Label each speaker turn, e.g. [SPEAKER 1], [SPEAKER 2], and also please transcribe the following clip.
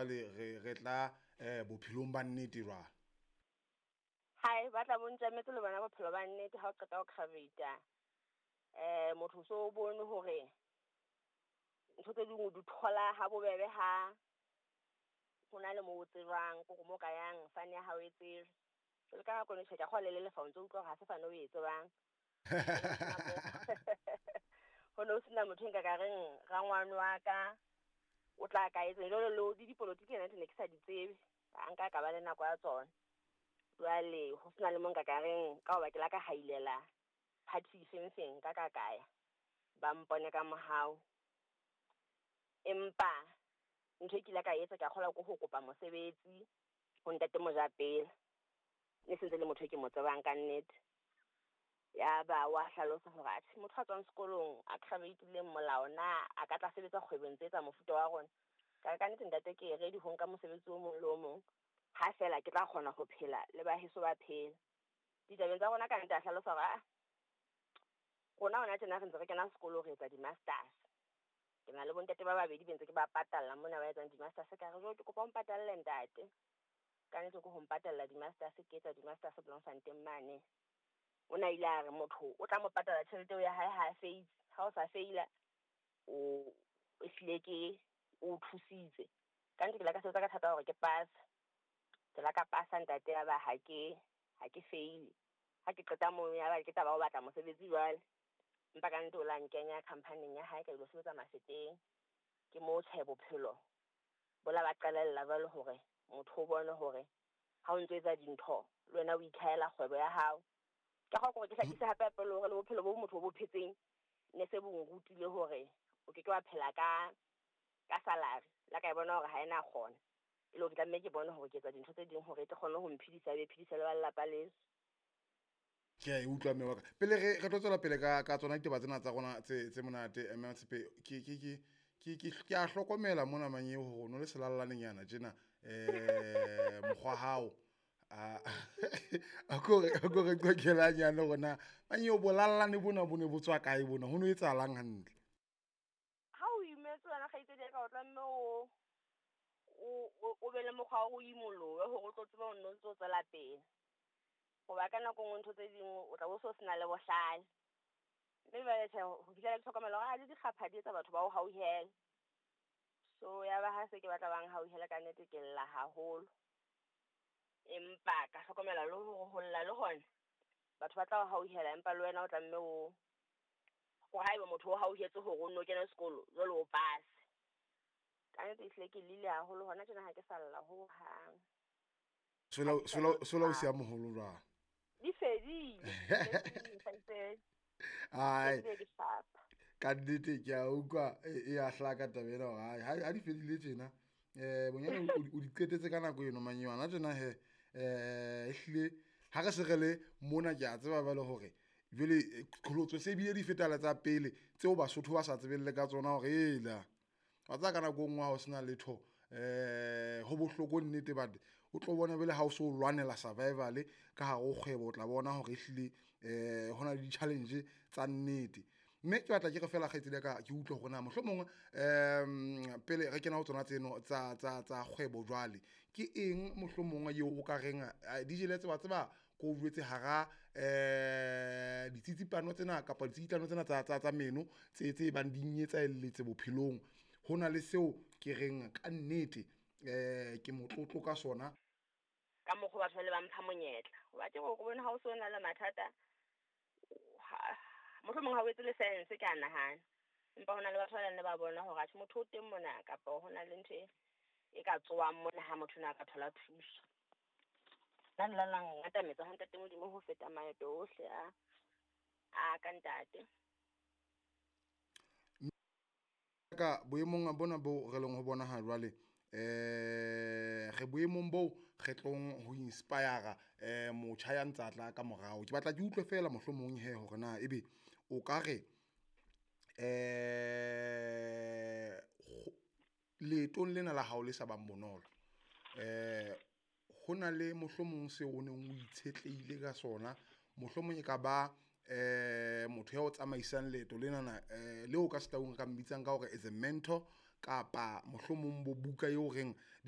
[SPEAKER 1] jwale re tla bophelong ba nnete jwale.
[SPEAKER 2] Hai, ba tla bontjametse le bona bophelo ba nnete ha o qeta ho graduate. Motho so o bone hore ntho tse ding o di thola ha bobebe ha hona le moo o tsebang, kore mo ka yang fane ya hao e tsejwe. Jwale ka nako tjhe, ke a kgolwa le lefa o ntso utlwa hore ha se fane o e tsebang. Ho no sena motho nka ka reng rangwane wa ka o tla ka etseng. Jwale le di dipolotiki ena ne ke sa di tsebe, ha nka ka ba le nako ya tsona. Jwale ho sena le mo nka ka reng ka hoba ke la ka hailela party feng feng ka ka kaya ba mpone ka mohau. Empa ntho e ke ile ka etsa ke a kgolwa ke ho kopa mosebetsi ho ntate Mojapela. Ne sentse le motho e ke mo tsebang ka nnete. Ya ba wa hlalosa hore atjhe motho a tswang sekolong a graduate-ileng molao na a ka tla sebetsa kgwebong tse tsa mofuta wa rona. Ka nnete ntate ke ready ho nka mosebetsi o mong le o mong ha fela ke tla kgona ho phela le ba heso ba phela. Ditabeng tsa rona ka nnete a hlalosa hore rona hona tjena re ntse re kena sekolo re etsa di-masters. Ke na le bontate ba babedi be ntse ke ba patalla mona ba etsang di-masters. Ka re jwale ke kopa o mpatalle ntate. Ka nnete ke ho mpatalla di-masters, ke etsa di-masters Bloemfontein mane. O na ile a re motho o tla mo patala tjhelete eo ya hae ha a feitse. Ha o sa feila o ehlile ke o thusitse. Ka nnete ke la ka sebetsa ka thata hore ke pass. Ke la ka pasa ntate ya ba ha ke feile. Ha ke qeta moo ya ba ke taba ho batla mosebetsi jwale. Empa ka nnete o la nkenya company-eng ya hae ka ilo sebetsa Mafeteng. Ke moo tjhe bophelo bo la ba qalella jwale hore motho o bone hore ha o ntso etsa dintho le wena o ikhahela kgwebo ya hao. Ka hore ke hlakise hape hape le hore le bophelo bo motho bo phetseng ne se bo nrutile hore o ke ke wa phela ka salary. La ka e bona hore ha ena kgona. E le hore ke tlameha ke bone hore ke etsa dintho tse ding hore e tle kgone ho mphedisa be phedisa le ba lelapa leso.
[SPEAKER 1] Ke a e utlwa mme wa ka. Pele re tlo tswela pele ka tsona ditaba tsena tsa rona tse monate mme Tshepe ke a hlokomela mona manyeo hore no le selallaneng tjena mokgwa hao a ko re qoqelanyane hore na manyeo bolallane bona bo ne bo tswa kae bona ho no etsahalang hantle.
[SPEAKER 2] Ha o imetse wena kgaitsedi ya ka o tlameha o be le mokgwa wa ho imolohe hore o tlo tsebe ho nno ntso tswela pele. Hoba ka nako nngwe ntho tse ding o tla bo so sena le bohlale. Mme jwale tjhe ho fihlela ke hlokomela hore le dikgapha di etsa batho ba o hauhele. So ya ba ha se ke batla bang hauhele ka nnete ke lla haholo. Empa ka hlokomela le hore ho lla le hona batho ba tla o hauhela empa le wena o tlameha o hore haeba motho o hauhetse hore o nno kene sekolo jwale o pass. Ka nnete ehlile ke llile haholo hona tjena ha ke sa lla hohang.
[SPEAKER 1] Sola o siya moholo jwang?
[SPEAKER 2] Di fedile.
[SPEAKER 1] Ai, ka nnete ke a utlwa e a hlaka taba ena hore ha di fedile tjena bonyane o di qetetse ka nako eno manyeo tjena he ehlile ha re se re le mona ke a tseba jwale hore jwale qholotso se bile di feta le tsa pele tseo Basotho ba sa tsebeng le ka tsona hore ela wa tseba ka nako e nngwe ha o sena letho ho bohloko nnete but o tlo bona bele ha o so lwanela survival ka hare ho kgwebo o tla bona hore ehlile hona le di-challenge tsa nnete. Mme ke batla ke re fela kgaitsedi ya ka ke utlwe hore na mohlomong pele re kena ho tsona tseno tsa kgwebo jwale ke eng mohlomong eo o ka reng DJ le tseba ko o jwetse hara ditsitsipano tsena kapa ditsikitlano tsena tsa meno tse bang di nyetsaelletse bophelong ho na le seo ke reng ka nnete ke motlotlo ka sona.
[SPEAKER 2] Ka mokgwa batho ba le ba mpha monyetla. Hoba ke hore bona ha o so na le mathata mohlomong ha o etse le sense ke a nahana. Empa hona le batho ba neng ba bona hore atjhe motho o teng mona kapa hona le ntho e ka tsoang mona ha motho na ka thola thuso. Nna nna la ngatametsa ho ntate Modimo ho feta maeto ohle a ka ntate.
[SPEAKER 1] Ka boemong bona bo re leng ho bona ha jwale re boemong bo re tlong ho inspire motjha ya ntsa tla ka morao. Ke batla ke utlwe fela mohlomong he hore na ebe o ka re leetong lena la hao le sa bang bonolo ho na le mohlomong seo o neng o itshetlehile ka sona, mohlomong e ka ba motho ya o tsamaisang leeto lenana leo ka setaung ka mmitsang ka hore is a mentor kapa mohlomong bo buka eo reng